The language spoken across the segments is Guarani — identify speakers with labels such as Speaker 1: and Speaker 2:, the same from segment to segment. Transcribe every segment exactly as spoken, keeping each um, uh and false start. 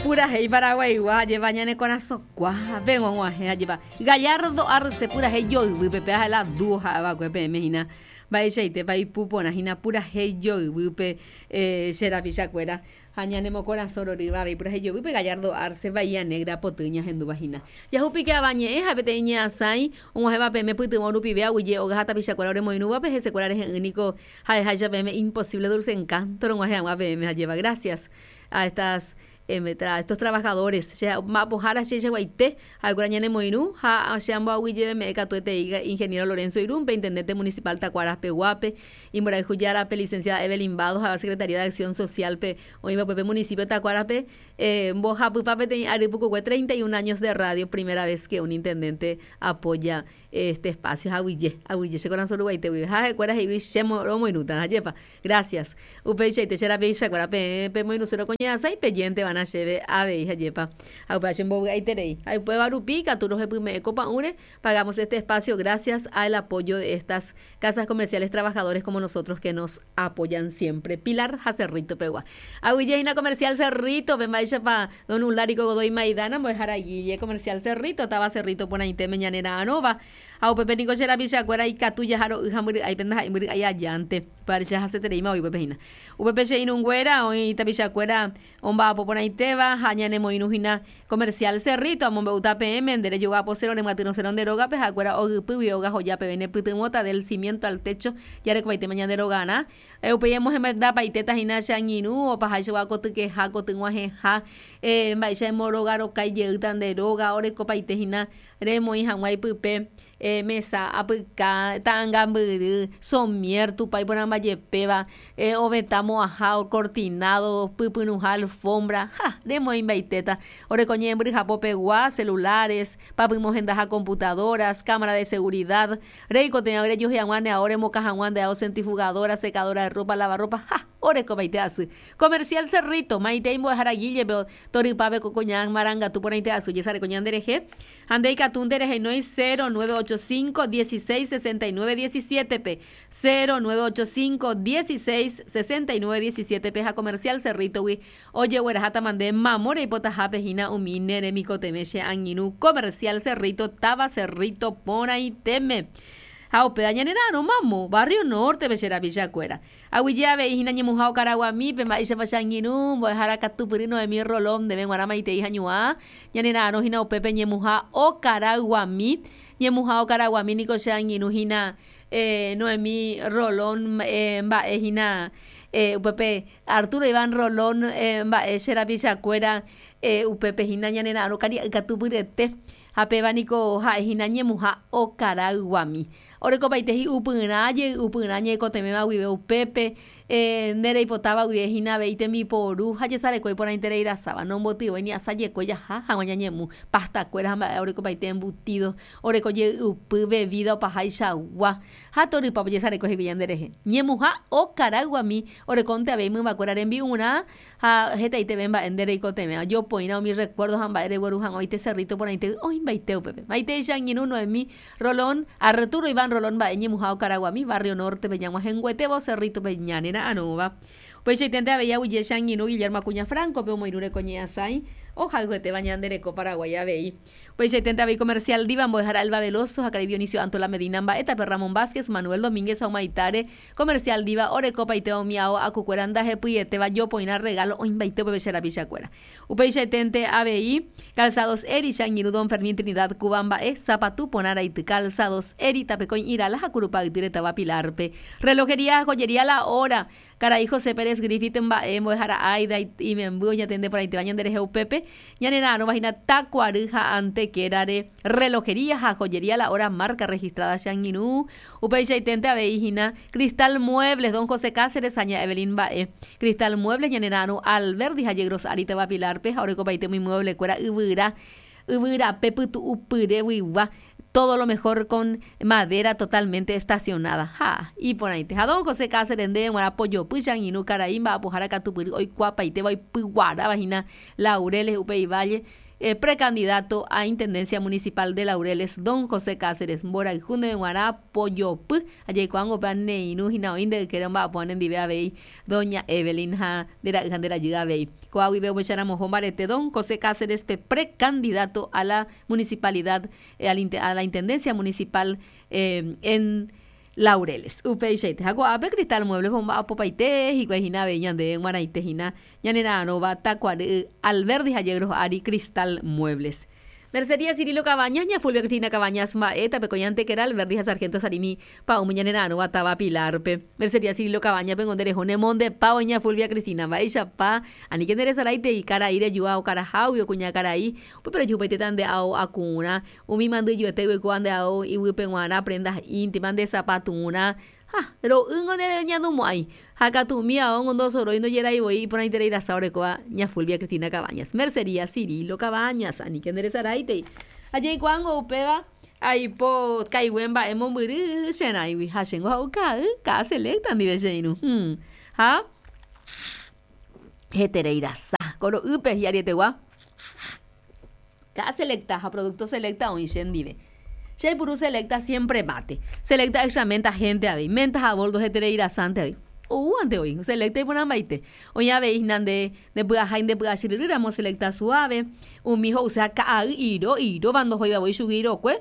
Speaker 1: Purahéi paraguaigua jeva ñane korasõkua peg̃uag̃uahẽ jeva Gallardo Arce purahéi joyvýpe pe la dúo ha'eva'ekue peẽme hína mba'eichaitépa ipuporã hína purahéi joyvýpe eh, che rapichakuéra ha ñanemokorasõ rorýva avei purahéi joyvýpe Gallardo Arce Bahía Negra poty ñahendúva hína. Jahupíke avañe'ẽ ha peteĩ ñe'ãsãi og̃uahẽva peẽme pytyvõ rupive aguyje óga ha tapichakuéra oremoirũvape hesekuéra rehe'ỹniko ha'eháicha peẽme imposible dulce encanto rog̃uahẽ hag̃ua peẽme ha lleva gracias a estas eh, tra, estos trabajadores che mba'apohára cheichaguaite ha'ekuéra ñanemoirũ ha che amboaguyjeveme'ẽ katuetei ingeniero Lorenzo Irumpe intendente municipal Tacuaras Peguape imborayhujárape licenciada Evelyn Bado ha'éva Secretaría de Acción Social pe oĩva upépe municipio Tacuarape eh, mbohapypa peteĩ ary pukukue treinta y un años de radio, primera vez que un intendente apoya este espacio. Aguyje aguyje che korasõ ruguaite guive ha ha'ekuéra he'ígui che romoirũta ajépa gracias upeichaite che rapichakuéra peẽ pemoirũsérõ ko ñe'ãsãi pejénteva'erã chéve avei ajépa ha upéva chembovy'aiterei ha upéva rupi katu rohepyme'ẽ ko pa'ũre pagamos este espacio gracias al apoyo de estas casas comerciales, trabajadores como nosotros que nos apoyan siempre. Pilar ha Cerrito pegua aguyje hína Comercial Cerrito pe mba'éichapa don Ulárico Godoy Maidana mbo'ehára Guille Comercial Cerrito táva Cerrito porãitéme ñanera'arõva ha upépe niko che rapichakuéra ikatu jaharo'y ha mbyry'áipe ndaha'éi mbyry'ái ajánte upévare che hasetereíma voi upépe hína upépe che irũnguéra oĩ tapichakuéra omba'apo porãitéva ha ñanemoirũ hína Comercial Cerrito amombe'úta peẽme nde rejogaposérõ remyatyrõsérõ nde rógape ha'ekuéra ogypýgui óga joja peve nepytyvõta del cimiento al techo jarekovaitéma ñande rogarã upéi emohemendapaitéta hína che angirũ opaháichagua kotykeha kotyg̃uahẽha eh, mba'éicha emorogarokái jeýta nde róga orekopaite hína remoĩ hag̃ua ipype eh, mesa apyka ta'ãngambyry somier tupa iporãmbajepéva eh, ovetã mo'ãha cortinado pypyrũha alfombra ha remoĩmbaitéta oreko ñe'ẽmbyryha popegua celulares papymohendaha computadoras cámara de seguridad reikotevẽ rejohei hag̃ua nde ao remokã hag̃ua nde ao centrifugadora secadora de ropa lavarropa ha orekopaite asy Comercial Cerrito maitei mbo'ehára Guillepe torypápe ko koña marangatu porãite asy jesareko ñanderehe ha nde ikatúnte rehenói cero nueve ocho cinco dieciséis sesenta y nueve diecisiete pe cero nueve ocho cinco dieciséis sesenta y nueve diecisiete pe ha Comercial Cerritogui ojegueraháta mande mamo reipotahápe hína umi ne remikotevẽ che angirũ Comercial Cerrito táva Cerrito porãitéme ha upéva ñanera'arõ mamo Barrio Norte pe che rapichakuéra aguyje avei hína ñemuha Okaraguamípe mba'éichapa che angirũ mbo'ehára katupyry Noemí Rolón ndéve g̃uarã maitei hañuã ñanera'arõ hína upépe ñemuha Okaraguami ñemuha Okaraguami niko che angirũ hína eh, Noemí Rolón eh, mba'e hína eh, upépe Arturo Iván Rolón eh, mba'e che rapichakuéra eh, upépe hína ñanera'arõ karia'y katupyryete ha péva niko ha'e hína ñemuha Okaraguami orekopaite hi'upyrã jey'upyrã ñeikotevẽva guive upépe eh, nde reipotáva guive hína avei tembiporu ha jesareko iporãiterei rasáva nombotyvoi ni asajekue jaha hag̃ua ñañemu pastakuéra ha mba'e orekopaite embutido oreko jey'upy bebida opahaichagua ha torypa jesareko hikuái ñanderehe ñemuha Okaraguami orekónte avei mymbakuéra rembi'urã ha hetaiteve mba'e nde reikotevẽ jopoirã umi recuerdo ha mba'e regueru hag̃ua oite Cerrito porãite oĩmbaite upépe maitei che angirũ Noemí Rolón Arturo Iván Rolón mba'e ñemuha Okaraguami Barrio Norte pe ñag̃uahẽnguetévo Cerrito pe ñanera'arõva upeichaitente avei aguyje che angirũ Guillermo Acuña Franco pe omoirũ reko ñe'ãsãi ohayhuetéva ñande reko Paraguay avei upeichaitente avei Comercial Diva mbo'ehára Elba Veloso ha karai Dionisio Antola Medina mba'étape Ramón Vázquez Manuel Domínguez ha Humaitare Comercial Diva orekopaite umi ao akukuéra ndahepyetéva jopoirã regalo oĩmbaite upépe che rapichakuéra upeichaitente avei Calzados Eri che angirũ Don Fermín Trinidad Cuba mba'e sapatu porã raity Calzados Eri tapekõi Irala ha Curupayty retava Pilarpe Relojería Joyería La Hora karai José Pérez Griffith mba'e mbo'ehára Aida imemby oñatende porãitéva ñanderehe upépe ñanera'arõva hína Takuary ha Antequerare Relojería ha Joyería La Hora marca registrada che angirũ upeichaitente avei hína Cristal Muebles Don José Cáceres ha ña Evelyn mba'e Cristal Muebles ñanera'arõ Alberdi ha Yegros Ari tava Pilarpe ha orekopaite umi mueblekuéra yvyra yvyrape pytu'upyre guigua todo lo mejor con madera totalmente estacionada. Ha, iporãite. Ha don José Cáceres ndéve g̃uarã pojopy che angirũ karai mba'apohára katupyry oikuapaitéva oipyguaráva hína Laureles upéi Valle eh, precandidato a Intendencia Municipal de Laureles, don José Cáceres. Mborayhu ndéve g̃uarã pojopy ajaikuaángo upéva ne irũ hína oĩ nde ykére omba'apo nendive avei doña Evelyn ha nde ra'y ha nde rajy avei. Ko'ág̃a guive ohecharamoho mbarete don José Cáceres pe precandidato a la municipalidad, eh, a la Intendencia Municipal eh, en Laureles. Upeichaite. Ha ko'ápe Cristal Muebles omba'apopaite hikuái hína avei ñande g̃uarãite hína ñanera'arõva Takuary Alberdi ha Yegros ári Cristal Muebles. Mercería Cirilo Cabañas, ña Fulvia Cristina Cabañas mba'e, tapekoñante kéra Alberdi ha Sargento Sarini pa'ũme ñanera'arõva táva Pilarpe. Mercería Cirilo Cabañas pe ndereho nemondepávo ña Fulvia Cristina mba'éichapa aníke nderesaraitei karai rejúa okarahágui okuñakarai upépe rejuhupaite nde ao akurã umi mandyjuete oikóva nde ao iguýpe g̃uarã prendas íntimas nde sapaturã ha ro'ýngo nereñandumo'ãi ha katu umi ao ndosorói ndojeráivoi iporãiterei rasa orekóva ña Fulvia Cristina Cabañas. Mercería Cirilo Cabañas aníke nderesaraitei ajeikuaángo upéva aipo kaigue mba'e mombyry cherãigui ha chéngo ha'u ka'y ka'a Selecta ndive che irũ hmm. Ha heterei rasa koro'ýpe hi'arietegua ka'a Selecta ha producto Selecta oĩ chendive. Che aipuru Selecta siempre mate. Selecta extra menta gente avei. Menta ha boldo heterei rasante avei. Oúante oĩ. Selecta iporãmbaite. Oĩ avei hína nde ndepy'ahái ndepy'achyryrýramo Selecta suave. Umi ho'uséva ka'ay iro iróva ndohóiva voi chugui irokue.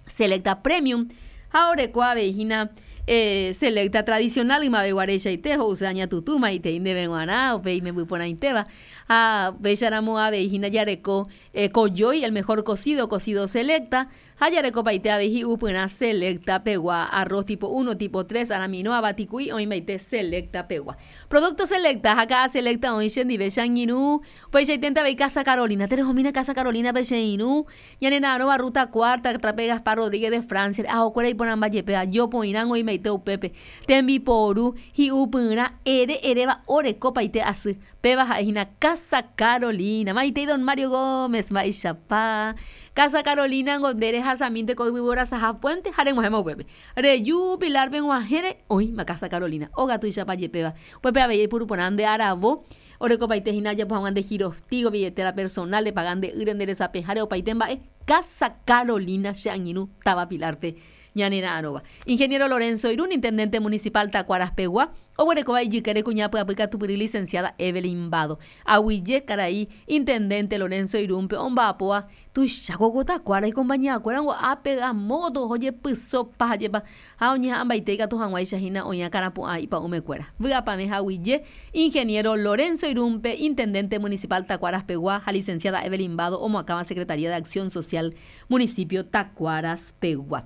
Speaker 1: Selecta Premium ha oreko avei hína eh, Selecta tradicional ymaveguareichaite ho'uséva ñatutúma itei ndéve g̃uarã upéi imemby porãitéva ha upéicharamo avei hína jareko eh, kojói el mejor cocido, cocido Selecta ha jarekopaite avei hi'upyrã Selecta pegua arroz tipo uno, tipo tres, aramino, avatiku'i oĩmbaite Selecta pegua. Producto Selecta ha ka'a Selecta oĩ chendive che angirũ upeichaitente avei Casa Carolina terehomína Casa Carolina pe che irũ ñanera'arõva ruta cuarta trape Gaspar Rodríguez de Francia ahokuéra iporãmba jepéva jopoirã oĩmbaite upépe tembiporu hi'upyrã ere eréva orekopaite asy péva ha'ehína Casa Carolina maitei don Mario Gómez mba'eichapa Casa Carolina ngo nde rehasamínte ko yvyvorasaha puente ha reg̃uahẽma upépe reju Pilarpe g̃uahẽre oĩma Casa Carolina óga tuichapa jepéva upépe avei eipuru porã nde aravo orekopaite hína ajapo hag̃ua nde girostigo billetera personal repaga nde ýre nde resapeháre opaite mba'e Casa Carolina che angirũ táva Pilarpe ñanera'arõva. Ingeniero Lorenzo Irún, intendente municipal Tacuaras pegua, oguerekóva ijykére kuña pyapy katupyry licenciada Evelyn Bado. Aguyje karai intendente Lorenzo Irúnpe omba'apóva tuicha koko Tacuara icompañía-kuéra ápe amóto ojepysopa jepa ha oñeha'ãmbaite ikatu hag̃uáicha hína oĩakãrapu'ã ipa'ũmekuéra. Vy'apavẽ aguyje ingeniero Lorenzo Irúnpe, intendente municipal Tacuaras pegua ha licenciada Evelyn Bado omoakãva Secretaría de Acción Social municipio Tacuaras pegua.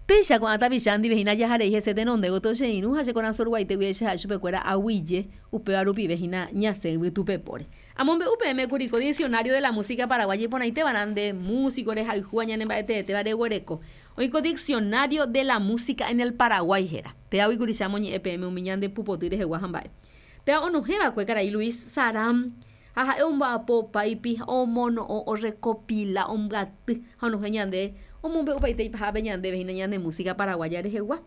Speaker 1: Péicha ko'ã tapicha ndive hína jaharei hese tenonde gotyo che irũ ha che korasõ ruguaitégui che ha'e chupekuéra aguyje upéva rupive hína ñasẽ yvytupepóre. Amombe'u peẽme kuriko diccionario de la música paraguaya iporãitévarã nde músico rehayhúva ñanemba'eteetéva reguereko. Oĩko diccionario de la música en el Paraguay héra. Péva oikuricha amoñe'ẽ peẽme umi ñande pupoty rehegua ha mba'e. Péva onohẽva'ekue karai Luis Saram ha ha'e omba'apo opáipi omono'õ orecopila ombyaty ha onohẽ ñande omombe'upaite ipahápe ñandéve hína ñande música paraguaya rehegua.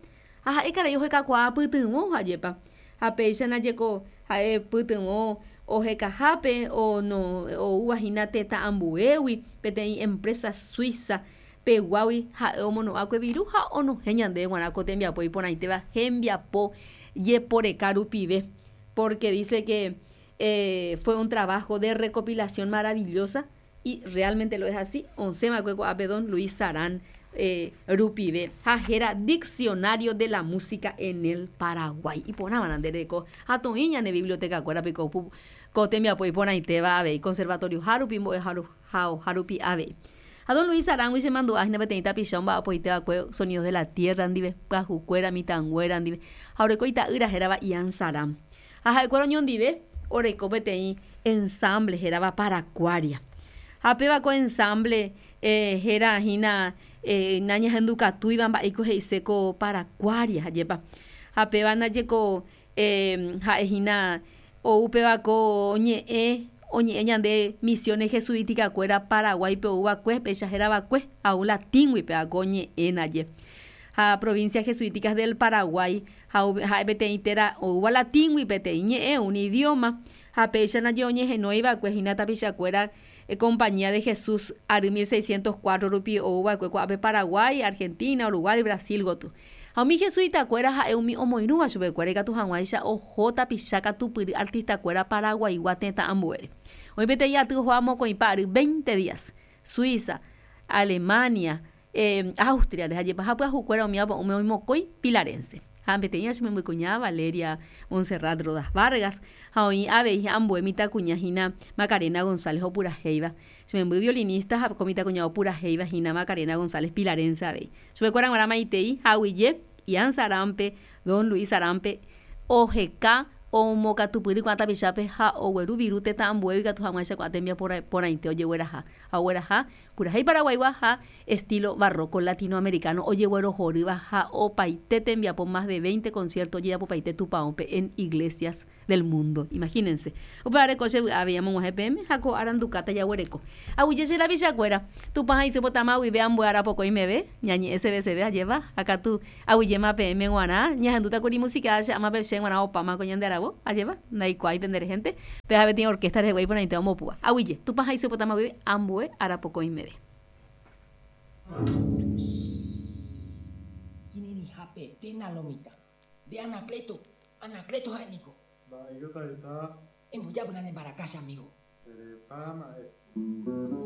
Speaker 1: Ha ha'e karai ohekakuaa pytyvõ ha'épa. Ha péicha jeko ha'e pytyvõ ohekahápe ono oúva hína tetã ambuégui peteĩ empresa suiza peguágui ha'e omono'ãkue viru ha onohẽ ñandéve g̃uarã ko tembiapo iporãitéva hembiapo jeporeka rupive porque dice que eh, fue un trabajo de recopilación maravillosa y realmente lo es así. Osẽva'ekue ko'ápe don Luis Sarán eh, rupive ha héra Diccionario de la Música en el Paraguay. Iporãvarã nde reko ha toĩ ñane biblioteca-kuérape ko ko tembiapo iporãitéva avei conservatorio hárupi mbo'ehaoha rupi avei. Ha don Luis Sarán-gui chemandu'a hína peteĩ tapicha omba'apoitéva'ekue Sonidos de la Tierra ndive, pyahukuéra, mitãnguéra ndive ha oreko ita'ýra hérava Ian Sarán. Ha ha'ekuéra oñondive oreko peteĩ ensamble hérava Paracuaria. Ha péva ko ensamble eh, héra hína eh, nañahendukatúiva mba'éiko he'ise ko Paracuaria hajépa. Ha péva ndajeko eh, ha'ehína ou péva ko ñe'ẽ oñe'ẽ ñande misiones jesuítica-kuéra Paraguaype oúva'ekue péicha hérava'ekue au latíngui péva ko ñe'ẽ ndaje. Ha provincia jesuíticas del Paraguay ha ha'e peteĩ téra oúva latíngui peteĩ ñe'ẽ un idioma Ha péicha ndaje oñehenóiva'ekue hína tapichakuéra Compañía de Jesús ary mil seiscientos cuatro rupi ouva'ekue ko'ápe Paraguái, Argentina, Uruguay, Brasil gotyo. Ha umi jesuitakuéra ha'e umi omoirũva chupekuéra ikatu hag̃uáicha oho tapicha katupyry artistakuéra paraguaigua tetã ambuére. Oĩ peteĩ aty ohóva mokõipa ary veinte días, Suiza, Alemania, Austria rehe ajepa ha pyahukuéra umi apa'ũme oĩ mokõi pilarense. Ha peteĩ che membykuña Valeria Montserrat Rodas Vargas ha oĩ avei ambue mitãkuña hína Macarena González opurahéiva. Che memby violinista ha ko mitãkuña opurahéiva hína Macarena González pilarense avei. Chupekuéra g̃uarã maitei ha aguyje Ian Sarampe, Don Luis Sarampe oheka omokatupyry ko'ã tapichápe ha ogueru viru tetã ambuégui ikatu hag̃uáicha ko'ã tembiapo porãite ojegueraha. Ha ogueraha purahéi paraguaigua ha estilo barroco latinoamericano ojeguerohorýva ha opaite tembiapo más de veinte concierto ojejapopaite tupãópe en iglesias del mundo. Imagínense. Upévare ko che vy'a avei amog̃uahẽ peẽme ha ko arandukáta jaguereko. Aguyje che rapichakuéra, Tupã ha isy potama guive ambue ára pokõi meve, ñañe'ẽ seveseve ajéva, ha katu aguyjéma peẽme g̃uarã, ñahendútakuri música che ámape che g̃uarã opáma ko ñande aravo, ajéva, ndaikuaái pende rehénte, péva peteĩ orquesta rehegua iporãite ombopúva. Aguyje, Tupã ha isy potama guive ambue ára pokõi meve.
Speaker 2: Kirirĩhapete lo mitã. Nde Anacleto, Anacleto ha'e niko.
Speaker 3: Mba'éiko taita.
Speaker 2: Embojápyna ne mbaraka che amigo.
Speaker 3: Erepa ma'e.